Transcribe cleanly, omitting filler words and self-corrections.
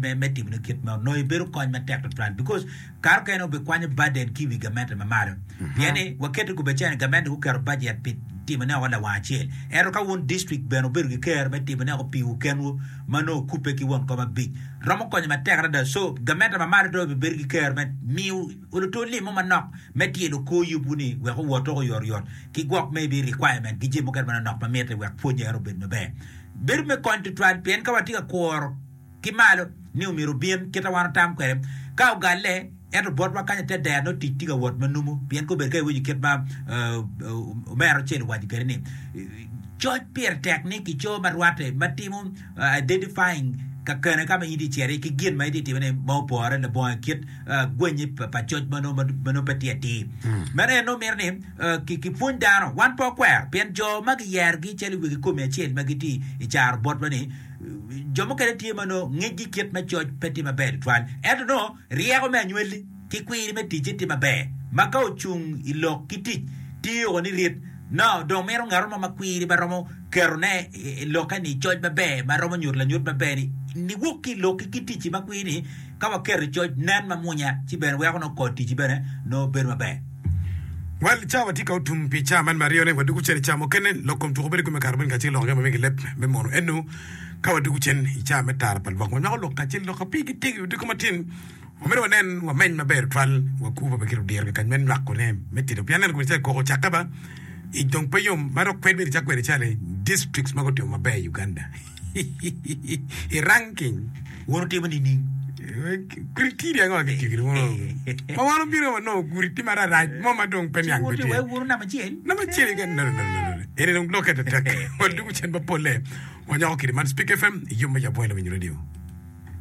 me me timone kit meno nongo ibedo kony matek tutwal because kare okene obikwanyo burden ki i wi gamente ma malo pien ni waketo i kome cene gamente guketo budget pi timone oko lawang acel ento ka wun district bene wubedo ki kero me timone oko piwu kenwu ma nongo wukubbe ki won kom abic romo konyo matek adada so gamente ma malo dong obibedo ki kero me miyo oluto lim mo manok me tyelo kor yubwu ni wek owot oko oyotoyot ki gwok maybe requirement ki jami mukene manonok ma mitte wek pwonye eno obed maber. Bedo me kony tutwal pien ka watye ka kuro ki malo ni omyero obin kit ma wan otam kwede, ka ogalle ento botwa kany i te dero nongo tic tye ka wot ma numu pien kobedo ka iwinyo kit ma omera Ocel owaco kwede ni coc pire tek ni kico ma rwatte ma timo identifying kakene ka ma in itye ka cito iye ki gin ma itye ka timone ma opore labongo kit gwenye pa coc ma nongo pe tye atir. Meno en nongo mito ni kipwony dano. Wan pe wakwero pien jo ma kiyerogi calo i wegi komi acel ma gitye i caro botwa-ni, jo mukene tye ma nongo ngecgi kit me coc pe tye maber tutwal ento nongo ryeko me anywalli ki kwiri me ticce tye maber ma ka ocung i lok ki tic tye o ni rit. Nongo dong mito ngat mo ma kwiri ma romo ketone i lokke ni coc maber ma romo nyuto lanyut maber ni niwok ki i lokki ki ticci ma kwiri ni Ka waketo i coc nen ma mwonya, ci bene weko nongo kor ticci bene nongo bedo maber. Wel, cawa tye ka otum pi caa man me aryone. Wadwogo cen i caa mukene. Lok kom tuko bedo kome kare moni kacel lok jami ma migi leb me mono eno. Ka wadwogo cen i caa me tara pa lwak, wanywako lok kacel lok pigi tego i odiko matin. Wamito wanen wameny maber tutwal wakur pa Bekir odiro kikany me nywakone me tito pien aneno kome calo koko ocakke ba ic dong pe yom ma dok kwed myero icak kwede calo districts ma gutimo maber i Uganda. I ranking. Wun wutimo nining? Criteria ango ma kitiyo kwede mono? Ma wan obino wanongo gudi tye mararac mo ma dong pe niang pe tye. Wunu namba acel. Namba acel keken. No, no, no, no, no. Eni dong lokke tetek. Wadwogo cen mapolle. Wanyako kidi man Speak FM i yub me Yab Wai Lawiny Radio.